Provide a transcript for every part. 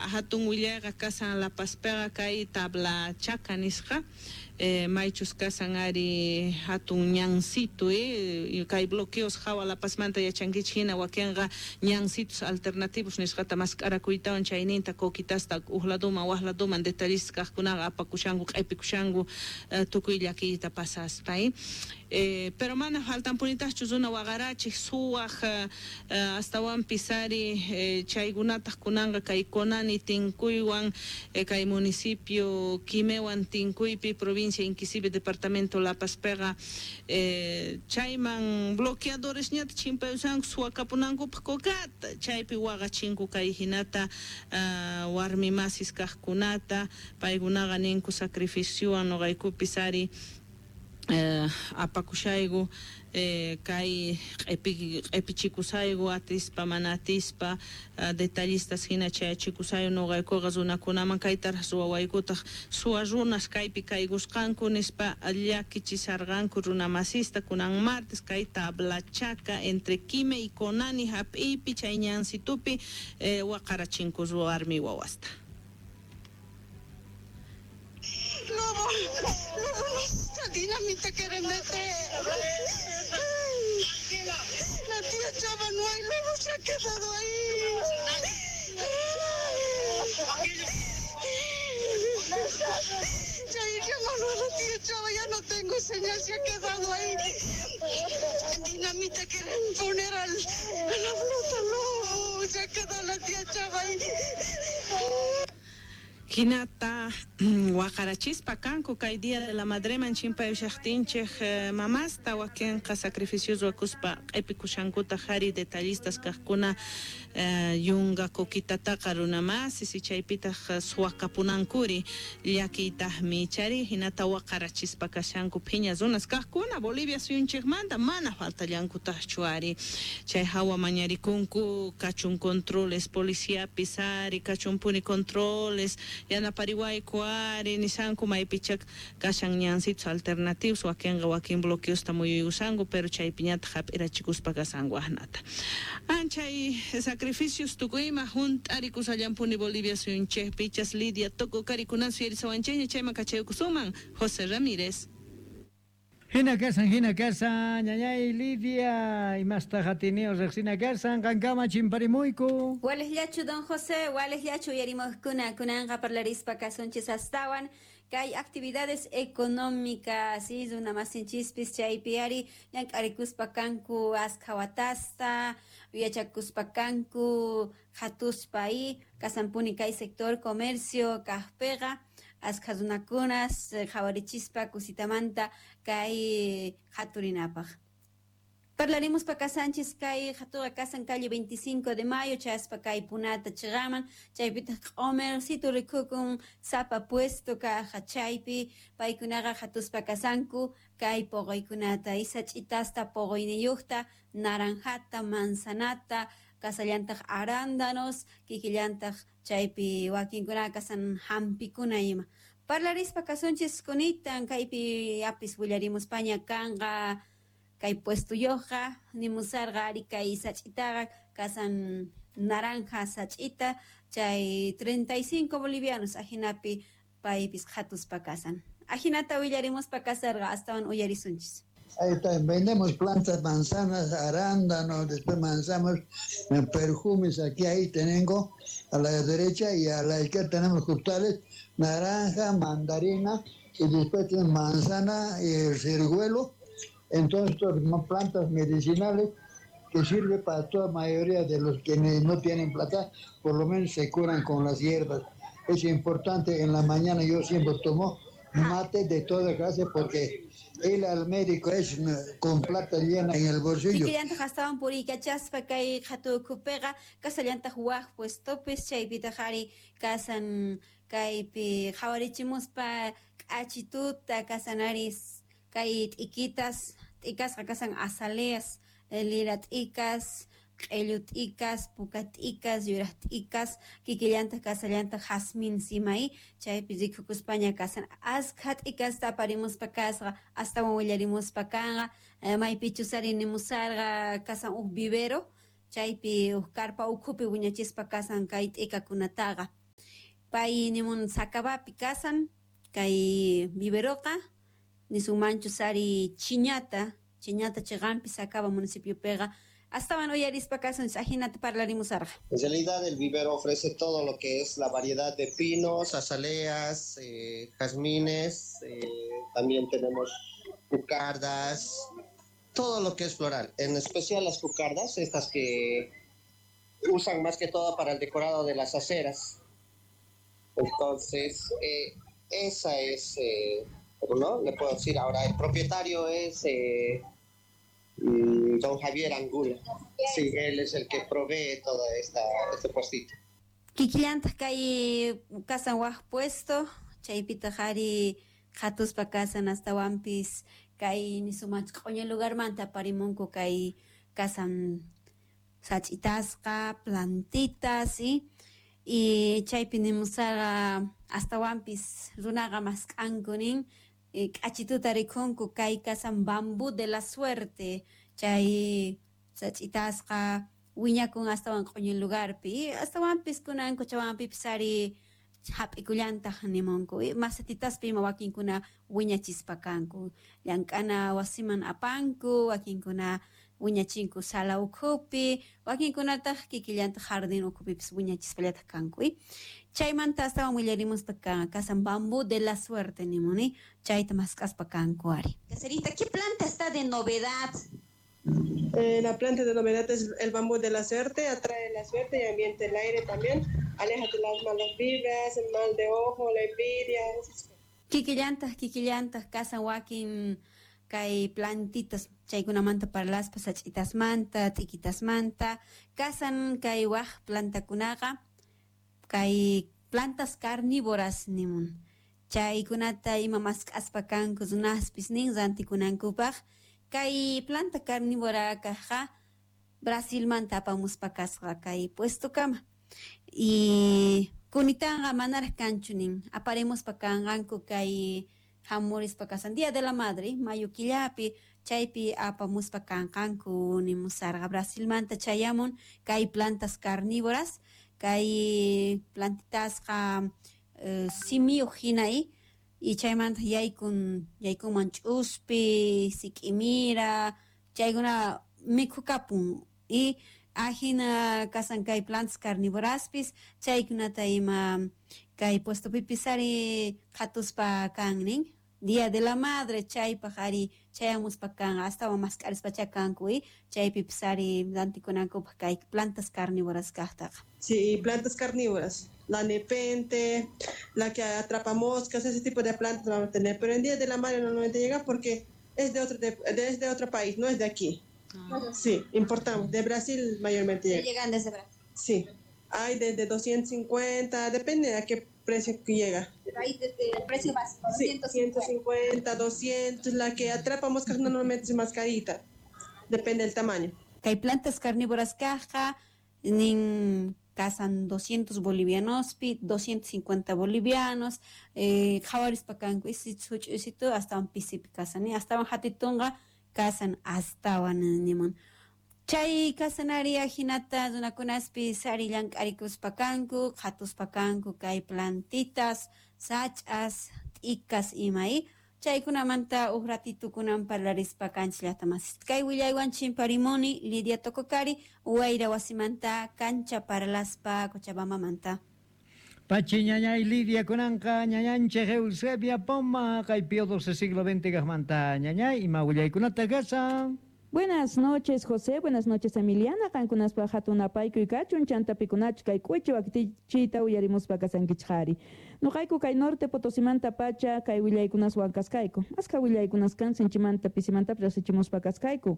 Hatun willayqa kashan La Pazpiqa kay Tablachaca nisqa maychus kashan ari hatun ñancitu kay bloqueos hawa La Pazmanta yachankichik hina wakinqa ñancitos alternativos nisqata mask'arakuytawan chayninta coquitasta huk laduman wak laduman detallistas kaqkunaqa apakushanku q'ipikushanku tukuy llakiyta pasaspa pero mana faltanpunitaqchu runa waqarachiq suwaq astawanpis ari chaykunataq kunanqa kay Conani tinkuywan kay municipio Quimewan tinkuypi provincia Inquisivi departamento La Pazpiqa chayman bloqueadoresñata chimpayushanku suwakapunankupaq cocata chaypi waqachinku kay hinata warmi masis kaqkunata paykunaqa ninku sacrificiowan nuqaykupis ari apakushayku kay q'ipichikusayku atispa mana atispa detallistas hina chayachikusayku nuqaykuqa runakunaman kaytaraq ruwawaykutaq suwa runas kaypi kaykusqanku nispa llakichisharqanku runa masista kunan martes kay Tablachaca entre Quime y Conani hap'iypi chay ñansitupi waqarachinku warmi wawasta. Lobo, lobo, esta dinamita quieren meter. Ay, la tía Chava no hay, lobo se ha quedado ahí. Ya llámalo a la tía Chava, ya no tengo señal, se ha quedado ahí. Dinamita quieren poner a la flota, lobo, se ha quedado la tía Chava ahí. Hinata waqarachispa kanku kay Día de la Madreman chimpayushaqtinchik mamasta wakinqa sacrificios ruwakuspa q'ipikushankuta hari detallistas kaqkuna yunka coquitataqa runa masis chaypitaq suwakapunankuri llakiytaqmi chari hinata waqarachispa kashanku phiña runas kaqkuna Bolivia suyunchikmanta mana faltallankutaqchu ari chay hawa mañarikunku kachun controles policiapis ari kachunpuni controles yanapariwayku ari nishanku maypichak kashan ñansitos alternativos wakinqa wakin bloqueosta muyuykushanku pero chaypiñataq hap'irachikuspa kashanku ahnata anchay sacrificios tukuyma hunt'arikushallampuni Bolivia suyunchikpi chas Lidia Tococari kunan suyarisawanchikña chayman kachaykusuman José Ramírez. Hina kasan, ñañay Lidia, imasta hatinio riqsina kasan, qankama chimparimuyku. Wales llachu don José, wales llachu uyarimuqkuna kunanqa parlarispa kasunchis astawan kay actividades económicas, runa masinchispis chaypi ari llank'arikuspa kanku askha watasta, yachakuspa kanku hatuspa kasanpuni kay sector comercio kaqpiqa askha runakunas qhawarichispa kusitamanta kay haturinapaq. Parlaremos pa kasanchis kay hatuqa kasan calle 25 de mayo chaspa kay punata chiqaman chaypitaq q'umercito rikukun sapa puesto kaqa chaypi paykunaqa hatuspa kasanku kay poqoykunata isach'itasta poqoyniyuqta naranjata manzanata kasallantaq arándanos kikillantaq chaypi wakinkunaqa kasan hampikuna ima. Parlarispa kasunchis kunitan kaypi apis willarimuspaña kanqa kay puestuyuqqa nimusarqa ari kay sach'itaqa kasan naranja sach'ita chay 35 bolivianos ajinapi paypis hatuspa kasan. Ajinata willarimuspa kasarqa astawan uyarisunchis. Ahí está, vendemos plantas, manzanas, arándanos, después manzanas, perfumes, aquí ahí tengo a la derecha y a la izquierda tenemos frutales, naranja, mandarina y después tenemos manzana y el ciruelo. Entonces, son plantas medicinales que sirven para toda mayoría de los que no tienen plata, por lo menos se curan con las hierbas. Es importante, en la mañana yo siempre tomo mate de toda clase porque ir al médico es con plata llena en el bolsillo. Kikillantaq astawan puriykachaspa kay hatukupiqa kasallantaq waq puestopis chaypitaq ari kasan kaypi qhawarichimuspa k'achituta kasan ari kay t'ikitas t'ikasqa kasan azaleas lira t'ikas q'illu t'ikas puka t'ikas yuraq t'ikas kikillantaq kasallantaq jazmín simay chaypi rikukuspaña kasan askha t'ikasta aparimuspa kasqa astawan willarimuspa kanqa maypichus ari nimusarqa kasan huk vivero chaypi huk karpa ukhupi wiñachispa kasan kay t'ikakunataqa. Pay nimun Sacabapi kasan kay viveroqa nisunmanchu sari Chiñata chiqanpi Sacaba municipiopiqa astawan uyarispa kasun ajinata parlarimusarqa. En realidad el vivero ofrece todo lo que es la variedad de pinos, azaleas, jazmines, también tenemos cucardas, todo lo que es floral, en especial las cucardas, estas que usan más que todo para el decorado de las aceras. Entonces, esa es, ¿no? Le puedo decir ahora, el propietario es don Javier Angulo. Sí, él es el que provee todo este puestito. Kikillantaq kay kasan waj puesto, chaypitaq ari qhatuspa kasan astawanpis kay nisumach q'uña lugarmanta aparimunku kay kasan sach'itasqa, plantitas, y chaypi nimusarqa astawanpis runaqa mask'anku nin k'achituta rikhunku kay kasan bambú de la suerte, chay sach'itasqa wiñakun astawan q'uña lugarpi, astawanpis kunan Cochabambapipis ari hap'ikullantaq nimunku, masatitaspi ima wakinkuna wiñachispa kanku, llank'ana wasiman apanku, wakinkuna wiñachinku sala ukhupi, wakinkunataq kikillantaq jardín ukhupipis wiñachispallataq kanku. Chaymanta astawan willarimuspa kasan bambú de la suerte nimuni, chayta mask'aspa kanku ari. Caserita, ¿qué planta está de novedad? La planta de novedad es el bambú de la suerte, atrae la suerte y ambiente el aire también, aléjate las malas vibras, el mal de ojo, la envidia. Kikillantaq kasan wakin kay plantitas chaykunamanta parlaspa sach'itasmanta, t'ikitasmanta, kasan kay waj plantakunaqa kay plantas carnívoras nimun, chaykunata ima mask'aspa kanku runaspis nin rantikunankupaq. Kay planta carnívora kajqa Brasilmanta apamuspa kasqa kay puestokama y kunitanqa manaraq kanchu nin aparimuspa kanqanku kay hamurispa kasan Día de la Madre mayo killapi chaypi apamuspa kanqanku nimusarqa. Brasilmanta chayamun kay plantas carnívoras, kay plantitasqa simiyuq hina y chaymanta yaykunman ch'uspi, sik'imira, chaykuna mikhukapun y ajina kasan kay plantas carnívoraspis chaykunata ima kay puestopipis ari qhatuspa kan nin Día de la Madre chaypaq ari chayamuspa kan astawan mask'arispacha kanku chaypipis ari rantikunankupaq kay plantas carnívoras kaqtaqa. Sí, plantas carnívoras, la nepente, la que atrapa moscas, ese tipo de plantas vamos a tener, pero en Día de la Madre normalmente llega porque es de otro país, no es de aquí. Ah. Sí, importamos, de Brasil mayormente llega. ¿Llegan desde Brasil? Sí, hay desde 250, depende de a qué precio que llega. Ahí desde el precio básico, 250. Sí, 150, 200, la que atrapa moscas normalmente es más carita, depende del tamaño. Que hay plantas carnívoras caja, nin kasan 200 bolivianos, 250 bolivianos, qhawarispa kanku huch'uysitu astawan pisipi kasan, astawan hatitunqa kasan astawan nimun. Chay kasan ari ajinata runakunaspis ari llank'arikuspa kanku, qhatuspa kanku kay plantitas, sach'as, t'ikas ima chaykunamanta uj ratitukunan parlarispa kanchis llaqtamasis. Kay willaywan chimparimuni Lidia Tococari, Wayra wasimanta kancha parlaspa Cochabambamanta. Pachi ñañay Lidia kunanqa ñañanchik Eusebia Poma kay Pío XII siglo XX kaqmanta ñañay ima willaykunata kasan. Buenas noches, José. Buenas noches, Emiliana. Qankunaspa hatun apaykuy kachun chantapikunach kay k'uchi waktichita uyarimuspa kasankichqari. Nuqayku kay norte Potosimanta pacha kay willaykunaswan kaskayku. Aska willaykunas kan sinchimanta pisimanta rasichimuspa kaskayku.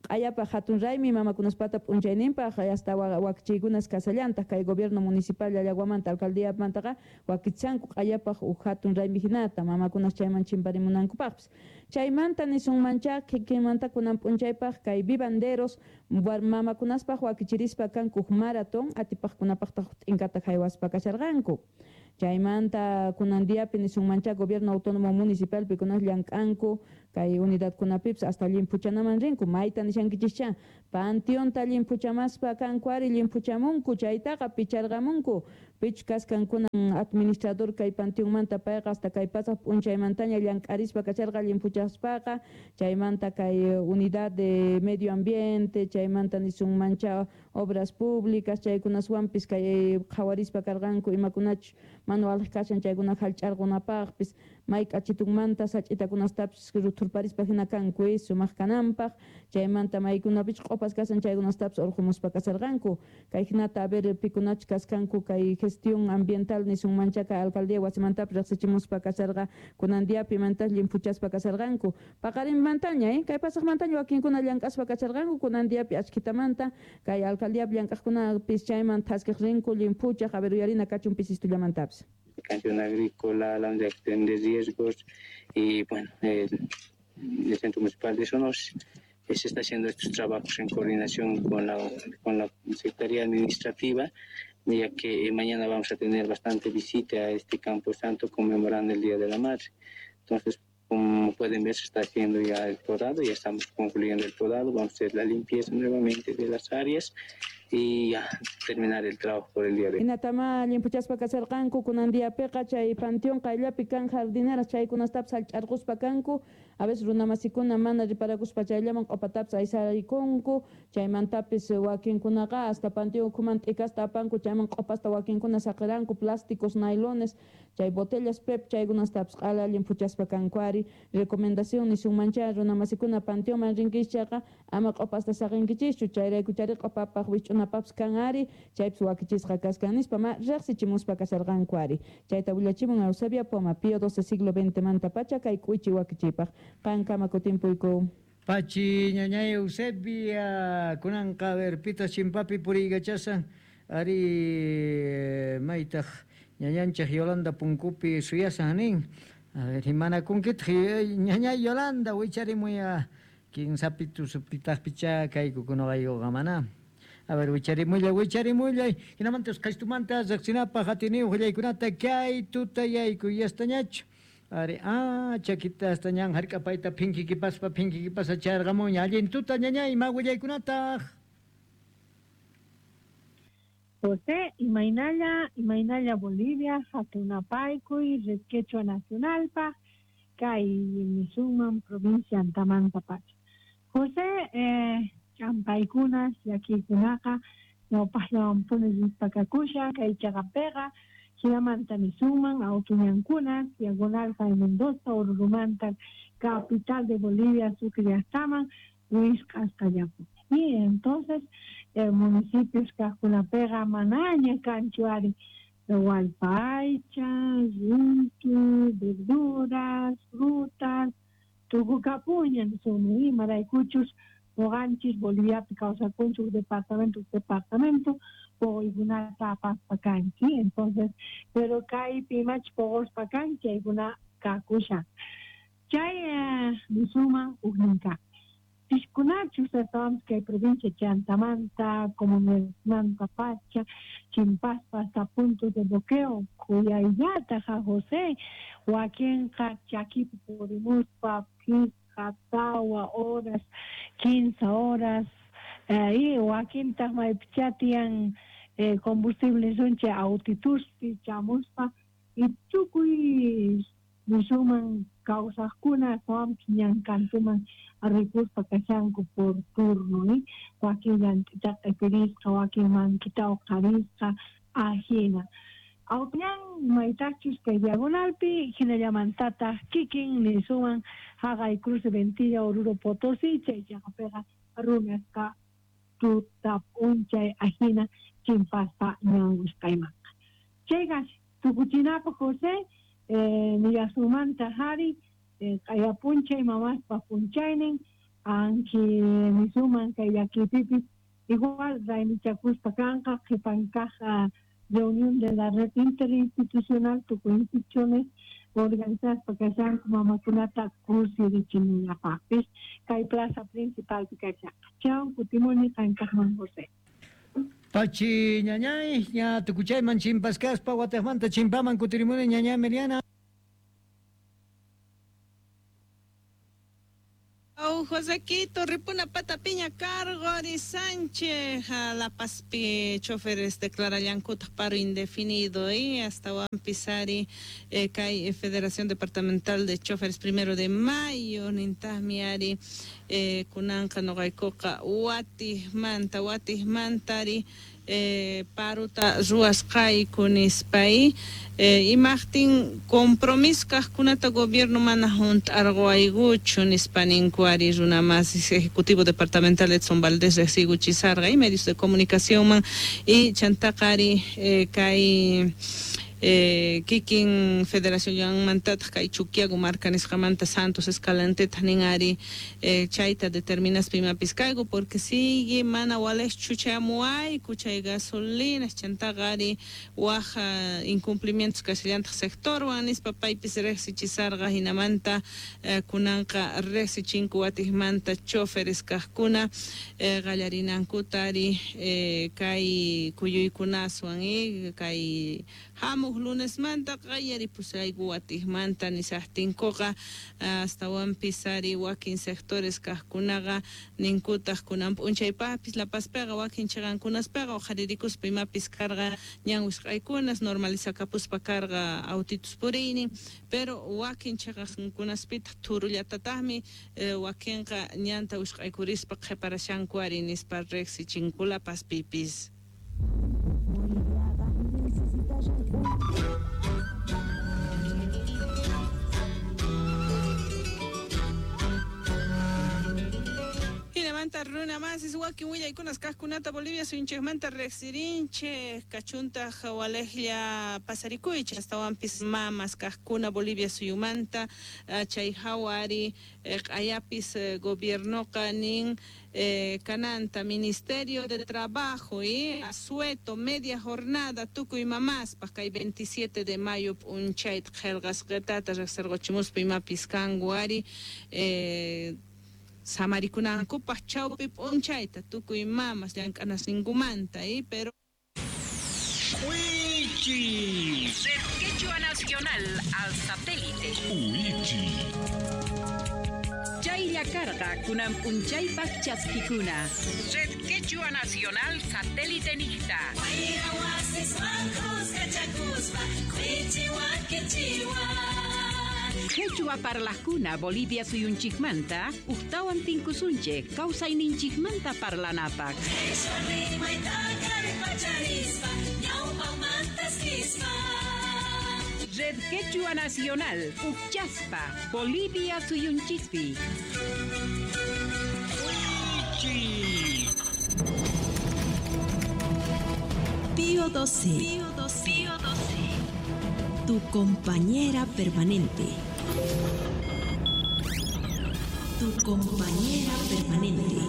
Q'ayapaq hatun raymi mamakunaspata p'unchayninpaq hasta wakchiykunas kasallantaq kay gobierno municipal Llallaguamanta alcaldíamantaqa wakichanku q'ayapaq uj hatun raymi hinata mamakunas chayman chimparimunankupaqpis. Chaymanta nisunmancha kikinmanta kunan p'unchaypaq kay vivanderos mamakunaspaq wakichirispa kanku maratón atipaqkunapaqtaq t'inkata haywaspa kasharqanku. Chaymanta kunan diapi nisunmancha gobierno autónomo municipal pikunas llank'anku Kay unidadkunapipis hasta llimphuchanaman rinku. Mayta nishankichischa panteonta llimphuchamaspa kanku ari llimphuchamunku, chaytaqa picharqamunku. Pichus kasqankunan administrador kay panteonmanta payqa hasta kay pasaq p'unchaymantaña llank'arispa kasharqa llimphuchaspaqa, chaymanta kay unidad de medio ambiente, chaymanta nisunmancha obras públicas, chaykunaswanpis kay qhawarispa karqanku imakunachus manual kashan chaykuna hallch'arqunapaqpis, may k'achitunmanta sach'itakunastapis ruthurparispa hina kanku sumaq kananpaq, chaymanta maykunapich q'upas kashan chaykunastapis urqumuspa kasharqanku. Kay hinata a ver pikunachus kasqanku kay gestión ambiental nisunmancha kay alcaldía wasimantapis riqsichimuspa kasharqa kunan diapi mantas llimphuchaspa kasharqanku. Paqarinmantaña kay pasaqmantaña wakinkuna llank'aspa kasharqanku, kunan diapi achkhitamanta kay alcaldiapi llank'aqkunapis chayman thaskiq rinku llimphuchaq, a ver uyarina kachun pisistillamantapis. Canción agrícola, la unidad de riesgos y bueno, el Centro Municipal de Sonos se está haciendo estos trabajos en coordinación con la Secretaría Administrativa, ya que mañana vamos a tener bastante visita a este Campo Santo conmemorando el Día de la Madre. Entonces, como pueden ver, se está haciendo ya el podado, ya estamos concluyendo el podado, vamos a hacer la limpieza nuevamente de las áreas y ya terminar el trabajo por el día de hoy. Hinatama llimphuchaspa kasharqanku kunan diapiqa chay panteón qayllapi kan jardineras chaykunastapis hallch'arquspa kanku, a veces runamasikuna mana riparakuspa chayllaman q'upatapis aysarikunku, chaymantapis wakinkunaqa hasta panteón ukhuman t'ikasta apanku, chayman q'upasta wakinkuna saqiranku, plásticos, nailones, chay botellas PEP chaykunastapis q'ala llimphuchaspa kanku ari. Recomendación nisunmancha runamasikuna panteonman rinkichis ama q'upasta saqinkichishchu, chayrayku chari q'upapaq wich'unapapis kan ari, chaypis wakichisqa kaskan nispa ma riqsichimuspa kasharqanku ari. Chayta willachimun Eusebia Poma, Pío XII siglo XX manta pacha kay k'uichi wakichipaq. Qankama kutimpuyku. Pachi ñañay Eusebia kunanqa verpita chimpapi puriykachasan ari maytaq ñañanchik Yolanda punkupi suyasan nin. A ver, imanakunkitaq ñañay Yolanda wicharimuya kinsapitu supitaqpicha kaykukunaqaykuqa mana. A ver, wicharimullay, hinamanta usqhaytumanta riqsinapaq atiniyuq willaykunata kay tutayayku yastañachu. Ari, chakita hasta ñan hark'apayta phinkikipaspa phinkikipasa charqamuña. Allin tuta ñañay, ima willaykunataq? José, imaynalla Bolivia, hatunapaykuy, Red Quechua Nacionalpaq, kay nisunman provincia Antamanta pacha. José, ch'ampaykunas, llakiykunaqa, ñawpaqllawanpuni rispakakushan, kay chaqapiqa, hinamanta nisunman awtuñankunas, Diagonal Jaime Mendoza, Orurumanta, capital de Bolivia, Sucre llaqtaman, wisq'asqallapuni. Y entonces, municipios kaqkunapiqa manaña kanchu ari wallpaycha, runtu, verduras, frutas, tukukapuña nisunman, imaraykuchus ñuqanchis Boliviapi kawsakunchik departamento puquykunata apaspa kanchik, entonces, pero kaypi imachus puquspa kanchik chaykuna kakushan. Chay nisunman huknin kaq. Piskunachus astawanpis kay provincia Chantamanta, comunidadmanta pacha, chimpaspa hasta puntos de bloqueo, kuyayllata ja José, wakinqa chakipi purimuspa phisqa, tawa horas, 15 horas, y wakintaq maypichá tiyan combustible suncha autituspi chamuspa, y tukuy nisunman kawsaqkuna astawanpis ñankantuman rikuspa kashanku por turno, wakin llant'itaqa q'ipirisqa, wakin mankita uqharisqa, ajina. Awtuñan maytaqchus kay Diagonalpi, hinallamantataq kikin nisunman haqay Cruce Ventilla, Oruro Potosí, chay chaqapiqa runasqa tuta p'unchay ajina chimpaspa ñan wisq'aymanqa. Chayqa tukuchinapaq José, nillasunmanta hari, q'aya p'unchay mamaspa p'unchaynin, anki nisuman kay llakiypipis igual raymichakuspa kanqa qhipan kaq reunión de la red interinstitucional tukuy instituciones organizaspa kashanku mamakunata kusirichimunapaqpis kay plaza principalpi kashanqa. Chau, kutimuni qankaqman José. Pachi ñañay, ña tukuchayman chimpaskaspa wataqmanta chimpaman kutirimuni ñañay Meriana. Josequito, ripuna patapiña cargori Sánchez, La Pazpi choferes declarallankuta paro indefinido y hasta Pisari kay Federación Departamental de Choferes 1 de Mayo nintahmiari kunanqa noqaykuqa watijmanta watijmantari paruta ruwasqayku nispay imaqtin compromiso kaqkunata gobierno mana hunt'arquwaykuchu nispa ninku ari runa masis Ejecutivo Departamental Edson Valdés riqsiykuchisarqa y medios de comunicación y chantaqa ari kay kikin Federación Yanmantataq kay Chuquiago marka nisqamanta Santos Escalanteta nin ari chayta determinaspa imapis kayku porque sigue mana walejchu chayamuwayku chay gasolinas chantaqa ari waj incumplimientos kashallantaq sectorwan nispa paypis riqsichisarqa hinamanta kunanqa riqsichinku watijmanta choferes kaqkuna qallarinankuta ari kay kuyuykunaswan kay hamuq lunesmanta qallaripusayku watijmanta nisaqtinkuqa astawanpis ari wakin sectores kaqkunaqa ninkutaq kunan p'unchaypaqpis La Pazpiqa wakin chiqankunaspiqa uqharirikuspa imapis karqa ñan wisq'aykunas normalizakapuspa karqa autitus puriynin pero wakin chiqankunaspitaq thurullatataqmi wakinqa ñanta wisq'aykurispa qhiparashanku ari nispa riqsichinku La Pazpipis. Hinamanta runa masis wakin willaykunas kaqkunata Bolivia suyunchikmanta riqsirinchik kachuntaq walejlla pasarikuychik astawanpis mamas kaqkuna Bolivia suyumanta chay hawa ari q'ayapis gobiernoqa nin kananta Ministerio de Trabajo y asueto media jornada tukuy mamaspaq kay 27 de mayo p'unchayta qillqasqitata riqsirquchimuspa imapis kanku ari samarikunankupaq chawpi p'unchayta tukuy mamas llank'anasninkumanta pero Wichi. Red Quechua Nacional al satélite. Wichi. Chaylla karqa kunan p'unchaypaq chaskikuna. Red Quechua Nacional satélite niqta. Quechua parlaqkuna Bolivia suyunchikmanta uqtawan tinkusunchik kawsayninchikmanta parlanapaq. Red Quechua Nacional Uqchaspa Bolivia suyunchikpi. Pío 12. Pío 12. Pío 12. Tu compañera permanente. Tu compañera permanente.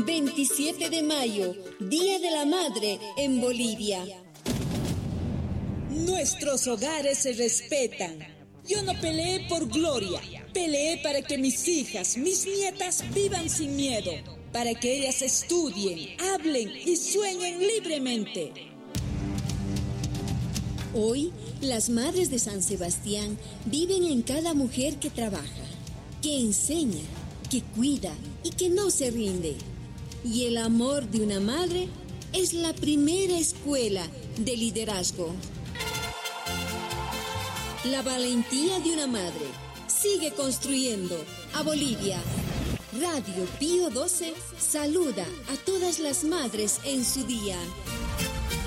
27 de mayo, Día de la Madre en Bolivia. Nuestros hogares se respetan. Yo no peleé por gloria, peleé para que mis hijas, mis nietas vivan sin miedo, para que ellas estudien, hablen y sueñen libremente. Hoy, las madres de San Sebastián viven en cada mujer que trabaja, que enseña, que cuida y que no se rinde. Y el amor de una madre es la primera escuela de liderazgo. La valentía de una madre sigue construyendo a Bolivia. Radio Pío 12 saluda a todas las madres en su día.